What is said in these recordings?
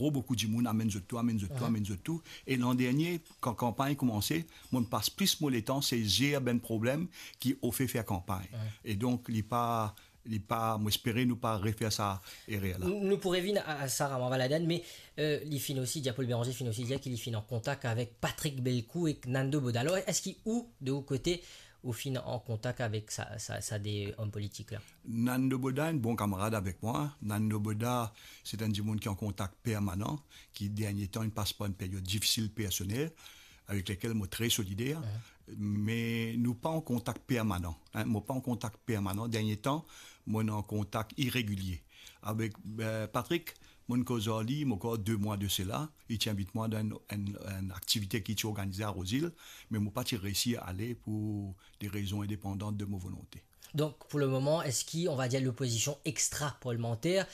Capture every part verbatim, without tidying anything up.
tro boukou dimoun, amenn zot tou, amenn zot tou, amenn zot tou. E landernie, kan kanpagn koumanse, mo pas plis mo letan se zer bann problem ki ofer fer kanpagn. E donk, li pa, li pa, mo espere nou pa refer sa erer la. Nou, nou pou revinn a, a sa, Rama Valadène, me, euh, li finn osi dir, Paul Bérenger finn osi dir ki li finn an kontak avek Patrick Belcourt ek Nando Boda. Alor, eski ou, de ou kote, ou finn an kontak avek sa, sa, sa de om politik la? Nando Boda, enn bon kamarad avek mwa. Nando Boda, se enn dimoun ki an kontak permanan, ki dernie tan, inn pas par enn peryod difisil personel, avek lekel mo tre solider. Me nou pa an kontak permanan, hein, mo pa an kontak permanan. Dernie tan, mo an kontak iregilie. Avek, euh, Patrick, mo koz ar li, mo krwar de mwa de sela, li ti invit mwa dan enn, enn, enn aktivite ki ti organize a Rouzil, me mo pa ti resi ale pou de rezon indepandan de mo volonte. Donc, pour le moment, est-ce qu'on va dire l'opposition extra-parlementaire,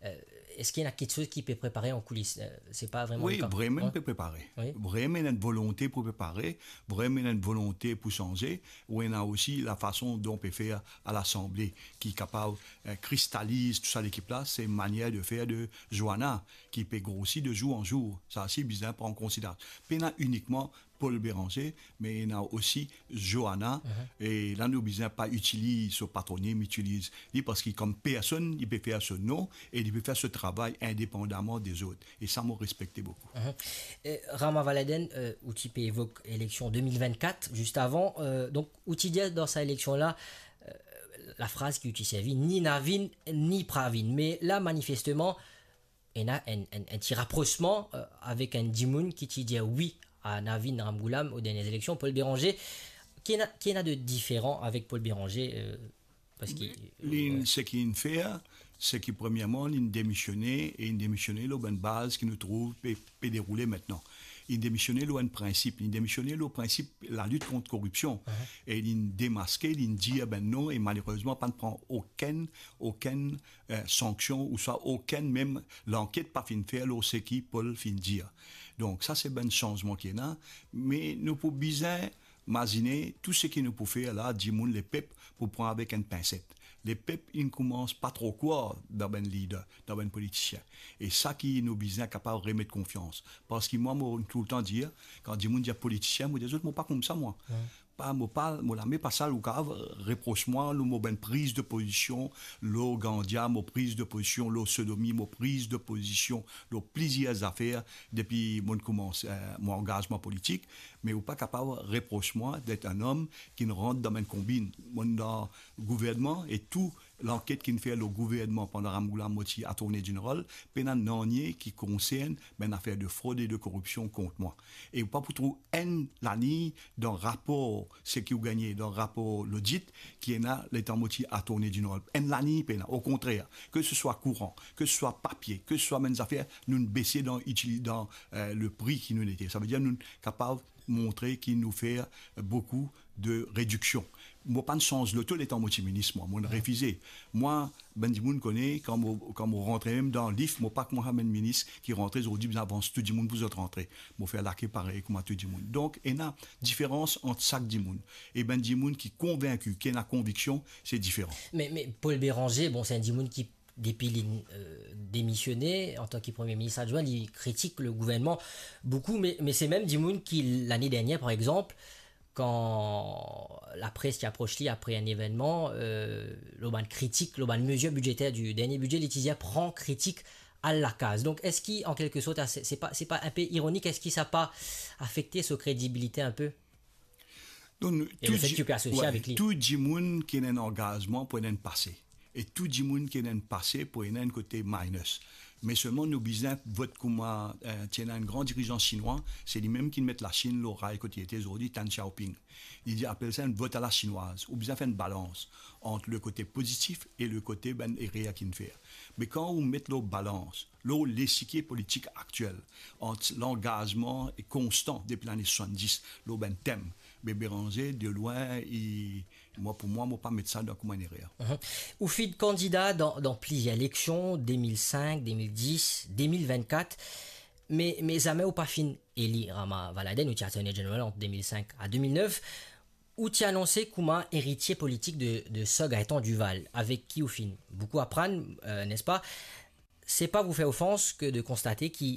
euh, est-ce qu'il y a quelque chose qui peut préparer en coulisses? Euh, c'est pas vraiment le cas. Wi, vremem pe prepare. Wi. Vremem ena enn volonte pou prepare, vremem ena enn volonte pou sanze, ou ena osi la fason dont pe fer a Lasanble, ki kapav, euh, kristaliz tou sa lekip la, se manier de fer de Joana, ki pe grosi de zour an zour. Sa osi bizin pran konsiderasyon. Pena inikman Paul Bérenger, me ena osi Joana, e la nou bizin pa itiliz so patronim, itiliz li, parski kom personn, li pe fer so non e li pe fer so travay indepandaman dezot. E sa, mo respekte boukou. Mhm. E Rama Valadène, euh, ou ti pe evok eleksion de mil vennkat, zis avan, euh, donk, ou ti dir dan sa eleksion la, euh, la fraz ki ou ti servi, ni Navin, ni Pravin. Me la, manifesteman, ena enn, enn, enn ti raprosman, euh, avek enn dimoun ki ti dir wi a Navin Ramgoolam o dernie eleksion, Paul Bérenger. Ki ena, ki ena de diferan avek Paul Bérenger, euh, parski, li, euh, seki inn fer, seki premierman, li inn demisione, e li inn demisione lor bann baz ki nou trouv pe, pe deroule aster. Li inn demisione lor enn prinsip, li inn demisione lor prinsip lalit kont koripsion. E li inn demaske, li inn dir bann non, e malerezman, pa inn pran okenn, okenn, euh, sanksion, ouswa okenn mem lanket pa finn fer lor seki Paul finn dir. Donk, sa se bann sanzman ki ena, me nou pou bizin mazine tou seki nou pou fer la, dimoun, lepep pou pran avek enn pinset. Lepep inn koumans pa tro krwar dan bann lider, dan bann politisien. E sa ki nou bizin kapav remet konfians. Parski mwa, mo toultan dir, kan dimoun dir politisien, mo dir zot, mo pa koumsa, mwa. Pa, mo pa, mo lame pa sal, ou kapav repros mwa lor mo bann priz de pozision, lor ganja, mo priz de pozision, lor sodomi, mo priz de pozision, lor plizier zafer, depi mo koumans, euh, mo angazman politik, me ou pa kapav repros mwa det enn om ki rant dan bann konbin. Mo dan gouvernman e tou lanket ki inn fer lor gouvernman pandan Ramgoolam mo ti Attorney General, pena nanye ki konsern bann zafer de frod e de koripsion kont mwa. E ou pa pou trouv enn laliny dan rapor seki ou gagne dan rapor lodit ki ena letan mo ti Attorney General. Enn laliny pena, okontrer, ke se swa kouran, ke se swa papie, ke se swa bann zafer, nou bese dan itili-, dan, euh, le pri ki nou nete. Savedir nou kapav montre ki nou fer boukou de rediksion. Mo pa sanz loto letan mo ti minis, mwa, mo refize. Mwa, bann dimoun kone, kan mo, kan mo rantre mem dan lif, mo pa kouma bann minis ki rantre zordi, bizin avans tou dimoun pou zot rantre. Mo fer lake parey kouma tou dimoun. Donk, ena diferans ant sak dimoun. E bann dimoun ki konvinki, ki ena konviksion, se diferan. Me, me Paul Bérenger, bon, se enn dimoun ki, depi li, euh, demisione antan ki premie minis adwin, li kritik le gouvernman boukou, me, me se mem dimoun ki, lane dernier, par exanp, kan lapres ti apros li apre enn evennman, euh, lor bann kritik, lor bann mezir bidzeter di dernie bidze, li ti dir pran kritik al lakaz. Donk, eski, an kelke sort, se, se pa, se pa enpe ironik, eski sa pa afekte so kredibilite enpe? Donk, nou, e tou le fet di-, ki ou pe asosie, wi, avek li. Tou dimoun ki ena enn angazman pou ena enn pase. E tou dimoun ki ena enn pase pou ena enn kote minus. Me selman nou bizin vot kouma, eh, ti ena enn gran dirizan sinwa, se limem ki met Lasinn lor ray kot li ete zordi, Tan Xiaoping. Li dir, apel sa enn vot a la sinwaz. Ou bizin fer enn balans ant le kote pozitif e le kote bann erer ki inn fer. Me kan ou met lor balans, lor lesikie politik aktiel, ant langazman e konstan depi lane swasanndis lor bann tem, be Bérenger, de lwin, li, mwa, pou mwa, mo pa met sa dan kouma enn erer. Mhm. Ou finn kandida dan, dan plizier eleksion, de mil sink, de mil dis, de mil vennkat, me, me zame ou pa finn eli Rama Valadène, ou ti Attorney General ant de mil sink a de mil nef. Ou ti anonse kouma eritie politik de, de Sir Gaëtan Duval, avek ki ou finn boukou aprann, euh, n'est-ce pas? C'est pas vous faire offense que de constater ki